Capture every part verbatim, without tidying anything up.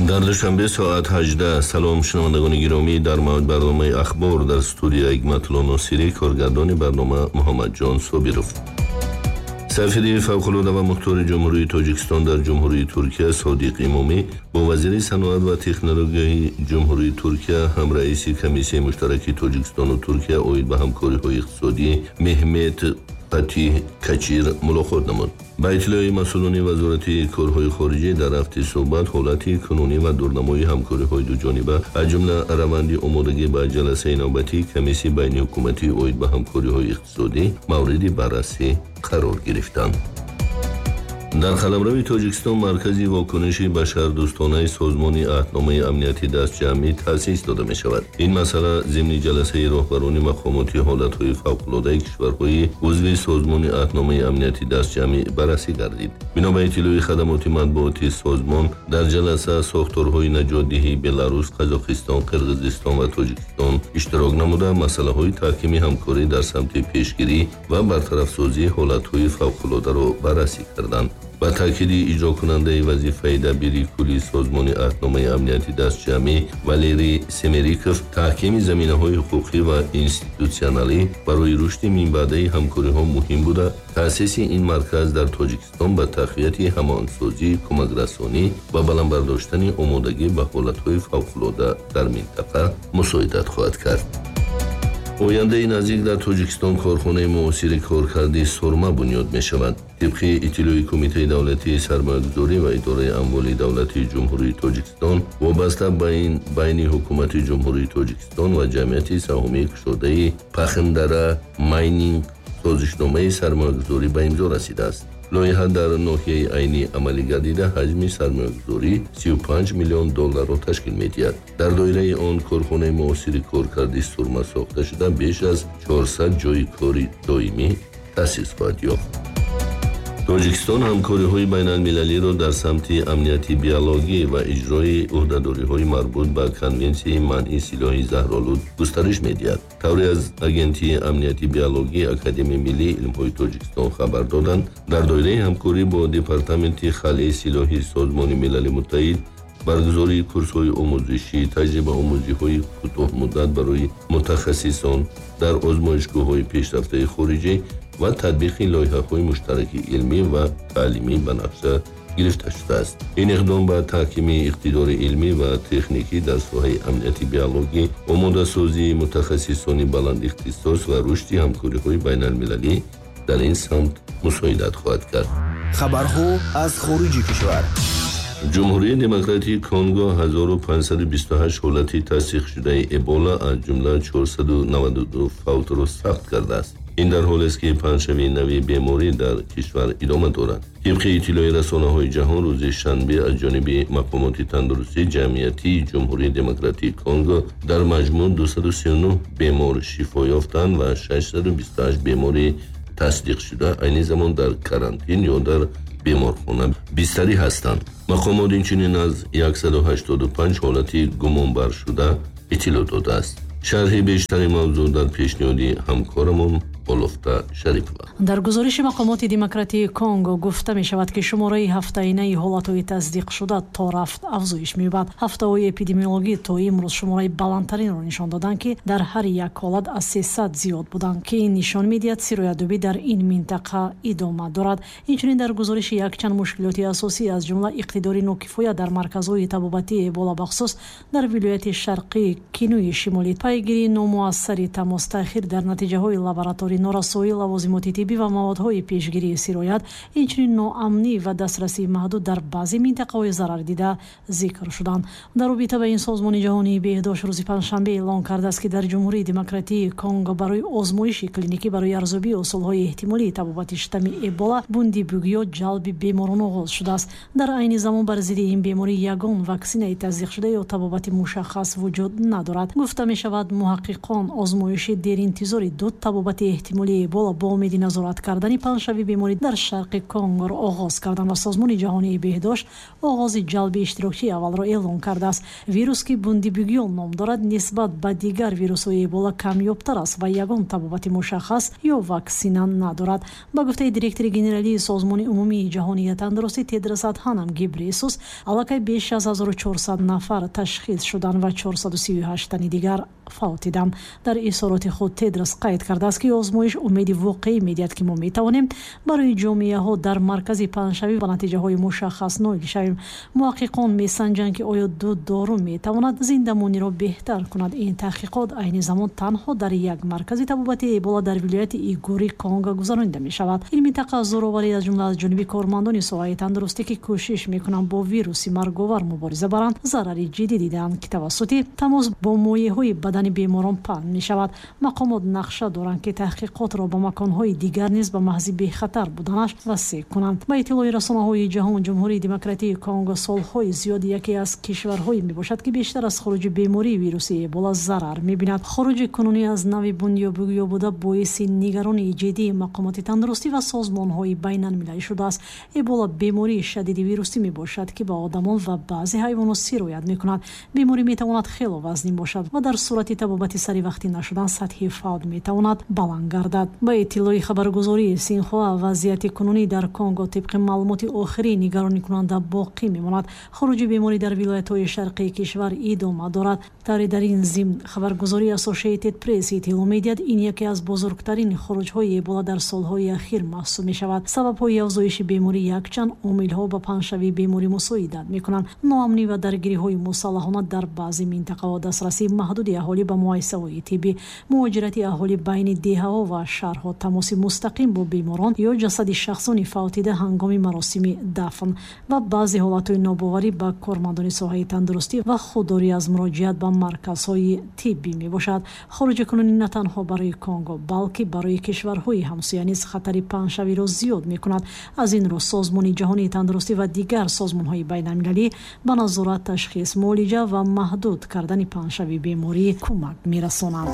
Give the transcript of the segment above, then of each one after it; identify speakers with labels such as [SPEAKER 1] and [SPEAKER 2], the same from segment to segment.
[SPEAKER 1] Дар Душанбе соат ҳаждаҳ. Салом, шунавандагони гиромӣ, дар мавҷ барномаи «Ахбор», дар студия Ҳикматулло Носирӣ, коргардони барнома Муҳаммадҷон Собиров. Сафири фавқулода ва мухтори Ҷумҳурии Тоҷикистон дар Ҷумҳурии Туркия Содиқ Имомӣ бо вазири саноат ва технологияи Ҷумҳурии Туркия, ҳамраиси комиссияи муштараки Тоҷикистону Туркия оид ба ҳамкориҳои иқтисодӣ Меҳмет Фатиҳ Качир мулоқот намуд. Ба иттилои масъулони Вазорати корҳои хориҷӣ, дар рафти суҳбат ҳолати кунунӣ ва дурнамои ҳамкориҳои дуҷониба, аз ҷумла раванди омодагӣ ба ҷаласаи навбатии комиссияи байниҳукуматӣ оид ба ҳамкориҳои иқтисодӣ мавриди баррасӣ қарор гирифтанд. Дар қаламрави Тоҷикистон маркази вокуниши башардӯстонаи Созмони Аҳдномаи Амнияти Дастҷамъӣ таъсис дода мешавад. Ин масъала зимни ҷаласаи роҳбарони мақомоти ҳолатҳои фавқулодаи кишварҳои узви Созмони Аҳдномаи Амнияти Дастҷамъӣ баррасӣ гардид. Бино ба иттилои хадамоти матбуоти созмон, дар ҷаласа сохторҳои наҷотдиҳии Беларус, Қазоқистон, Қирғизистон ва Тоҷикистон иштирок намуда, масъалаҳои таҳкими ҳамкорӣ дар самти пешгирӣ ва бартарафсозии ҳолатҳои фавқулодаро баррасӣ карданд. Ба таъкиди иҷрокунандаи вазифаи дабири кулли Созмони Аҳдномаи Амнияти Дастҷамъӣ Валерий Семериков, таҳкими заминаҳои ҳуқуқӣ ва институтсионалӣ барои рушди минбаъдаи ҳамкориҳо муҳим буда, таъсиси ин марказ дар Тоҷикистон ба тақвияти ҳамоҳангсозӣ, кӯмакрасонӣ ва баланд бардоштани омодагӣ ба ҳолатҳои фавқулода дар минтақа мусоидат хоҳад кард. Ояндаи наздик дар Тоҷикистон корхонаи муосири коркарди сурма бунёд мешавад. Тибқи иттилои Кумитаи давлатии сармоягузорӣ ва идораи амволи давлатии Ҷумҳурии Тоҷикистон, вобаста ба ин байни ҳукумати Ҷумҳурии Тоҷикистон ва ҷамъияти саҳомии кушодаи «Пахндара Майнинг» созишномаи сармоягузорӣ ба имзо расидааст. Лоиҳа дар ноҳияи Айнӣ амалӣ гардида, ҳаҷми сармоягузорӣ сию панҷ миллион долларро ташкил медиҳад. Дар доираи он корхонаи муосири коркарди сурма сохта шуда, беш аз чорсад ҷойи кори доимӣ таъсис хоҳад ёфт. Тоҷикистон ҳамкориҳои байналмилалиро дар самти амнияти биологӣ ва иҷрои ӯҳдадориҳои марбут ба Конвенсияи манъи силоҳи заҳролуд густариш медиҳад. Тавре аз Агентии амнияти биологии Академияи миллии илмҳои Тоҷикистон хабар доданд, дар доираи ҳамкорӣ бо Департаменти халъи силоҳи Созмони Милали Муттаҳид баргузории курсҳои омӯзишӣ, таҷрибаомӯзиҳои кӯтоҳмуддат барои мутахассисон дар озмоишгоҳҳои пешрафтаи хориҷӣ ва татбиқи лоиҳаҳои муштараки илмӣ ва таълимӣ ба нақша гирифта шудааст. Ин иқдом ба таҳкими иқтидори илмӣ ва техникӣ дар соҳаи амнияти биологӣ, омодасозии мутахассисони баландихтисос ва рушди ҳамкориҳои байналмилалӣ дар ин самт мусоидат хоҳад кард.
[SPEAKER 2] Хабарҳо аз хориҷи кишвар.
[SPEAKER 1] Ҷумҳурии Демократии Конго ҳазору панҷсаду бисту ҳашт ҳолати тасдиқшудаи Эбола, аз ҷумла чорсаду наваду ду фавтро сабт кардааст. Ин дар ҳолест, ки паҳншавии нави беморӣ дар кишвар идома дорад. Тибқи иттилои расонаҳои ҷаҳон, рӯзи шанбе аз ҷониби мақомоти тандурустии ҷамъиятии Ҷумҳурии Демократии Конго дар маҷмӯъ дусаду сию нӯҳ бемор шифо ёфтанд ва шашсаду бисту ҳашт бемори тасдиқшуда айни замон дар карантин ё дар беморхона бистарӣ ҳастанд. Мақомот инчунин аз яксаду ҳаштоду панҷ ҳолати гумонбаршуда иттилоъ додааст. Шарҳи бештари мавзӯъ дар пешниҳоди ҳамкорамон Олуфта Шарипова.
[SPEAKER 3] Дар гузориши мақомоти Демократии Конго гуфта мешавад, ки шумораи ҳафтаинаи ҳолатҳои тасдиқшуда то рафт афзоиш меёбад. Ҳафтаҳои эпидемиологӣ то имрӯз шумораи баландтаринро нишон доданд, ки дар ҳар як ҳолат аз сесад зиёд буданд, ки ин нишон медиҳад, сироятёбӣ дар ин минтақа идома дорад. Инчунин дар гузориши якчанд мушкилоти асосӣ, аз ҷумла иқтидори нокифоя дар марказҳои табобатии Эбола, бахусус дар вилояти шарқии Кинуи Шимолӣ, пайгирии номуассари тамос, таъхир дар натиҷаҳои лабораторӣ, норасоии лавозимоти тиббӣ ва маводҳои пешгирии сироят, инчунин ноамнӣ ва дастрасии маҳдуд дар баъзе минтақаҳои зарардида зикр шуданд. Дар робита ба ин Созмони ҷаҳонии беҳдошт рӯзи панҷшанбе эълон кардааст, ки дар Ҷумҳурии Демократии Конго барои озмоиши клиникӣ барои арзёбии усулҳои эҳтимолии табобати штамми Эбола Бундибугиё ҷалби беморон оғоз шудааст. Дар айни замон бар зидди ин беморӣ ягон ваксинаи тасдиқшуда ё табобати мушаххас вуҷуд надорад. Гуфта мешавад, муҳаққиқон озмоиши деринтизори ду табобати эҳтимолии Эбола бо умеди назорат кардани паҳншавии беморӣ дар шарқи Конгоро оғоз карданд ва Созмони ҷаҳонии беҳдошт оғози ҷалби иштирокчии аввалро эълон кардааст. Вирус, ки Бундибугион ном дорад, нисбат ба дигар вирусҳои Эбола камёбтар аст ва ягон табобати мушаххас ё ваксина надорад. Ба гуфтаи директори генералии Созмони умумии ҷаҳонии тандурустӣ Тедрос Адханом Гебрейесус, аллакай беш аз ҳазору чорсад нафар ташхис шуданд ва чорсаду сию ҳашт тани дигар фавтиданд. Дар изҳороти худ Тедрос қайд кардааст, ки озмоиш умеди воқеӣ медиҳад, ки мо метавонем барои ҷомеаҳо дар маркази паҳншавӣ ба натиҷаҳои мушаххас ноил шавем. Муҳаққиқон месанҷанд, ки оё ду дору метавонад зиндамониро беҳтар кунад. Ин таҳқиқот айни замон танҳо дар як маркази табобати Эбола дар вилояти Игури Конго гузаронида мешавад. Ин минтақа зӯроварӣ аз ҷумла аз ҷониби кормандони соҳаи тандурустӣ, ки кӯшиш мекунанд бо вируси марговар мубориза баранд, зарари ҷиддӣ дидаанд, ки тавассути тамос бо моеъҳои бадани беморон паҳн мешавад. Мақомот нақша доранд, ки таҳқиқотро ба маконҳои дигар низ ба маҳзи бехатар буданаш васеъ кунанд. Ба иттилои расонаҳои ҷаҳон, Ҷумҳурии Демократии Конго солҳои зиёд яке аз кишварҳое мебошад, ки бештар аз хуруҷи бемории вируси Эбола зарар мебинад. Хуруҷи кунунӣ аз нави Бундибугио буда боиси нигаронии ҷиддии мақомоти тандурустӣ ва созмонҳои байналмилалӣ шудааст. Эбола бемории шадиди вирусӣ мебошад, ки ба одамон ва баъзе ҳайвонот сироят мекунад. Беморӣ метавонад хело вазнин бошад ва дар сурати табобати саривақтӣ нашудан сатҳи фавт метавонад баланд гардад. Ба иттилои хабаргузории Синхуа, вазъияти кунунӣ дар Конго тибқи маълумоти охирӣ нигаронӣкунанда боқӣ мемонад. Хуруҷи беморӣ дар вилоятҳои шарқии кишвар идома дорад. Тавре дар ин зимн хабаргузории Associated Press иттилоъ медиҳад, ин яке аз бузургтарин хуруҷҳои Эбола дар солҳои ахир маҳсуб мешавад. Сабабҳои афзоиши беморӣ якчанд омилҳо ба паҳншавии беморӣ мусоидат мекунанд. Ноамнӣ ва даргириҳои мусаллаҳона дар баъзе минтақаҳо, дастрасии маҳдуди аҳолӣ ба муассисаҳои тиббӣ, муҳоҷирати аҳолӣ байни деҳаҳо ва шаҳрҳо, тамоси мустақим бо беморон ё ҷасади шахсони фавтида ҳангоми маросими дафн ва баъзе ҳолатҳои нобоварӣ ба кормандони соҳаи тандурустӣ ва худдорӣ аз муроҷиат ба марказҳои тиббӣ мебошад. Хуруҷи кунунӣ на танҳо барои Конго, балки барои кишварҳои ҳамсоя низ хатари паҳншавиро зиёд мекунад. Аз ин рӯ Созмони ҷаҳонии тандурустӣ ва дигар созмонҳои байналмилалӣ ба назорат, ташхис, муолиҷа ва маҳдуд кардани паҳншавии беморӣ кӯмак мерасонанд.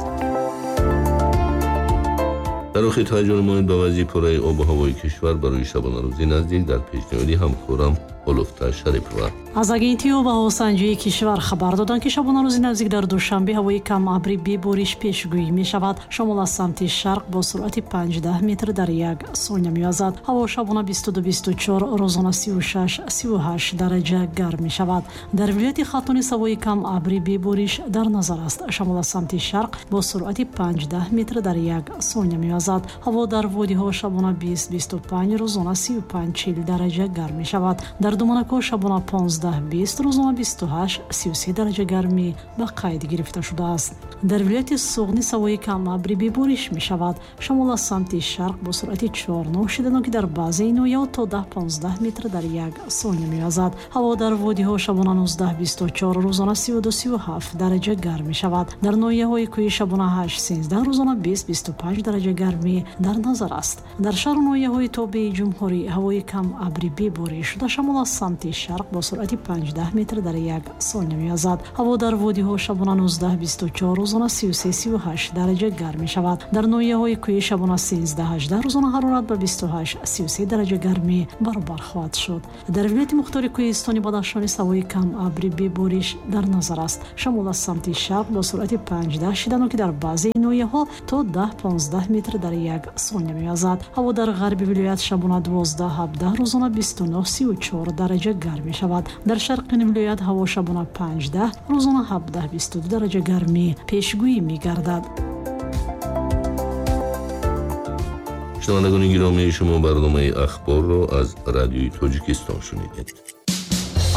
[SPEAKER 1] Дар охир таваҷҷӯҳ намоед ба вазъи пурраи обу ҳавои кишвар барои шабонарӯзи наздик дар пешниҳоди ҳамкорам Олуфта Шарипова.
[SPEAKER 3] Аз агентии обуҳавосанҷии кишвар хабар доданд, ки шабонарӯзи наздик дар Душанбе ҳавои камабрӣ бебориш пешгӯӣ мешавад. Шамол аз самти шарқ бо суръати панҷдаҳ метр дар як сония мевазад. Ҳаво шабона бисту ду бисту чор, рӯзона сию шаш сию ҳашт дараҷа гарм мешавад. Дар вилояти Хатлон ҳавои камабрӣ бебориш дар назар аст. Шамол аз самти шарқ бо суръати панҷдаҳ метр дар як сония мевазад. Ҳаво дар водиҳо шабона бист бисту панҷ, рӯзона сию панҷ чил дараҷа гарм мешавад. Дар Думанако шабона понздаҳ бист, рӯзона бисту ҳашт сию се дараҷа гармӣ ба қайд гирифта шудааст. Дар вилояти Суғд низ ҳавои камабрӣ бебориш мешавад. Шамол аз самти шарқ бо суръати чор нӯҳ шиданоки дар баъзе ноҳияҳо то даҳ понздаҳ метр дар як сония мевазад. Ҳаво дар водиҳо шабона нуздаҳ бисту чор, рӯзона сию ду сию ҳафт дараҷа гарм мешавад. Дар ноҳияҳои кӯҳӣ шабона ҳашт сенздаҳ, рӯзона бист бисту панҷ дараҷа гармӣ дар назар аст. Дар шаҳру ноҳияҳои тобеи ҷумҳурӣ ҳавои камабрӣ бебориш шуда, шамол аз самти шарқ бо суръати панҷдаҳ метр дар як сония мевазад. Ҳаво дар водиҳо шабона нуздаҳ бисту чор, рӯзона сию се сию ҳашт дараҷа гарм мешавад. Дар ноҳияҳои кӯҳӣ шабона сенздаҳ ҳаждаҳ, рӯзона ҳарорат ба бисту ҳашт сию се дараҷа гармӣ баробар хоҳад шуд. Дар вилояти мухтори кӯҳистони Бадахшон ҳавои камабрӣ бебориш дар назар аст. Шамол аз самти шарқ бо суръати панҷдаҳ шиданоки дар баъзе ноҳияҳо то даҳ понздаҳ метр дар як сония мевазад. Ҳаво дар ғарби вилоят шабона дувоздаҳ ҳабдаҳ, рӯзона бисту нӯҳ сию чор дараҷа гарм мешавад. Дар шарқи вилоят ҳаво шабона панҷдаҳ, рӯзона ҳабдаҳ бисту ду дараҷа гармӣ пешгӯӣ мегардад.
[SPEAKER 1] Шунавандагони гиромӣ, шумо барномаи ахборро аз Радиои Тоҷикистон шунидед.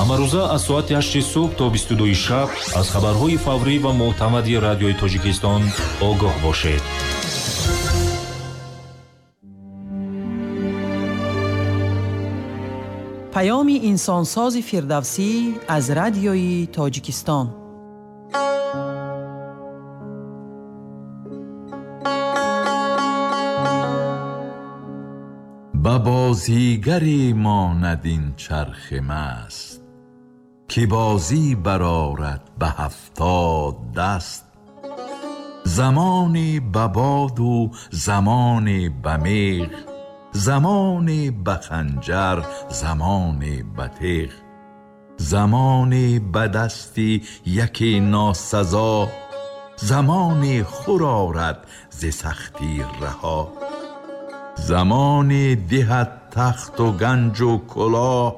[SPEAKER 4] Ҳамарӯза аз соати ҳашти субҳ то бисту дуи шаб аз хабарҳои фаврӣ ва мӯътамади Радиои Тоҷикистон огоҳ бошед.
[SPEAKER 5] Паёми инсонсози Фирдавсӣ аз Радиои Тоҷикистон.
[SPEAKER 6] Ба бозигаре монад ин чархи маст, ки бозӣ барорад ба ҳафтод даст. Замоне ба боду замоне ба меғ, замоне ба ханҷар, замоне ба теғ. Замоне ба дасти яке носазо, замоне хӯр орад зи сахтӣ раҳо. Замоне диҳад тахту ганҷу кулоҳ,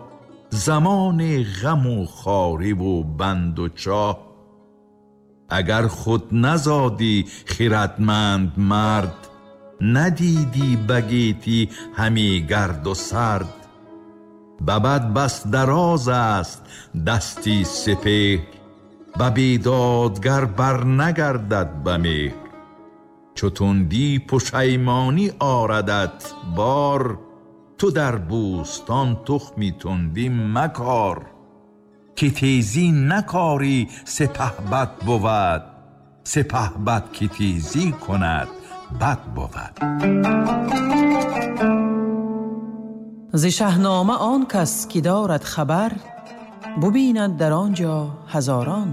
[SPEAKER 6] замоне ғаму хориву банду чоҳ. Агар худ назодӣ хирадманд мард, надидӣ ба гетӣ ҳаме гарду сард. Ба бад бас дароз аст дасти сипеҳр, ба бедодгар барнагардад ба меҳр. Чу тундӣ пушаймонӣ орадат бор, ту дар бӯстон тухми тундӣ макор. Ки тезӣ накорӣ сипаҳбад бувад, сипаҳбад ки тезӣ кунад бад бувад.
[SPEAKER 5] Зи Шаҳнома он кас ки дорад хабар, бубинад дар он ҷо ҳазорон